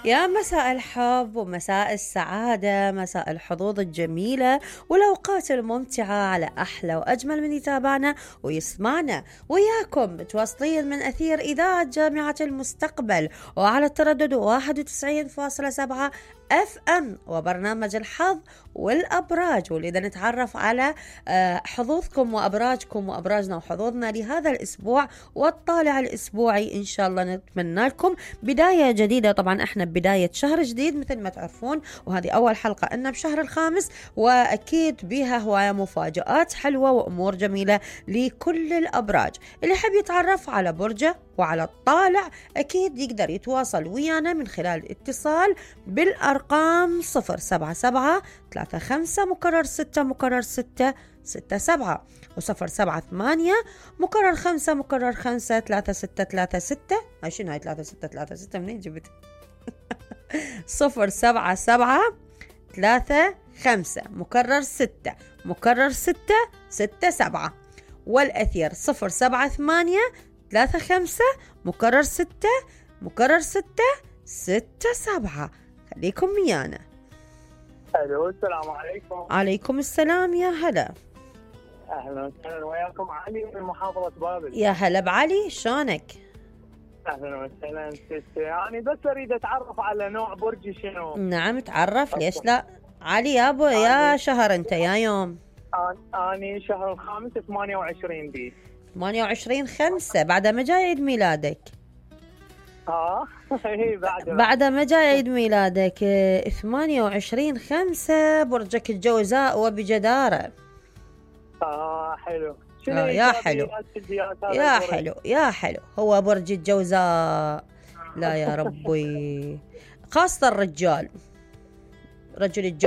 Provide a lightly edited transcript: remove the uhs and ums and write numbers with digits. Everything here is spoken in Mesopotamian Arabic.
يا مساء الحب ومساء السعادة، مساء الحظوظ الجميلة والأوقات الممتعة على أحلى وأجمل من يتابعنا ويسمعنا وياكم متواصلين من أثير إذاعة جامعة المستقبل وعلى التردد 91.7 FM وبرنامج الحظ والأبراج، واللي نتعرف على حظوظكم وأبراجكم وأبراجنا وحظوظنا لهذا الأسبوع والطالع الأسبوعي. إن شاء الله نتمنى لكم بداية جديدة. طبعا احنا بداية شهر جديد مثل ما تعرفون، وهذه أول حلقة إنه بشهر الخامس، وأكيد بها هواية مفاجآت حلوة وأمور جميلة لكل الأبراج. اللي يحب يتعرف على برجه وعلى الطالع أكيد يقدر يتواصل ويانا من خلال الاتصال بالأرقام 078-35-6-6-67 و078-5-5-3636. شنو هاي 3636 منين جبت؟ 078-35-6-6-67 والأثير 078-35-6-6-67. خليكم ويانا. الو السلام عليكم. عليكم السلام، يا هلا. اهلا وسهلا، وياكم علي من محافظة بابل. يا هلا بعلي، شلونك؟ اهلا وسهلا ستي، يعني بس اريد اتعرف على نوع برجي شنو. نعم تعرف، ليش لا؟ علي يابا، يا شهر انت يا يوم؟ اني شهر الخامس 28 بي 28/5. بعد ما جاي عيد ميلادك. هي بعد ما جاي عيد ميلادك 28/5. برجك الجوزاء وبجدارة. حلو. يا حلو يا حلو يا حلو. هو برج الجوزاء، لا يا ربي، خاصة الرجال، رجل الجوزاء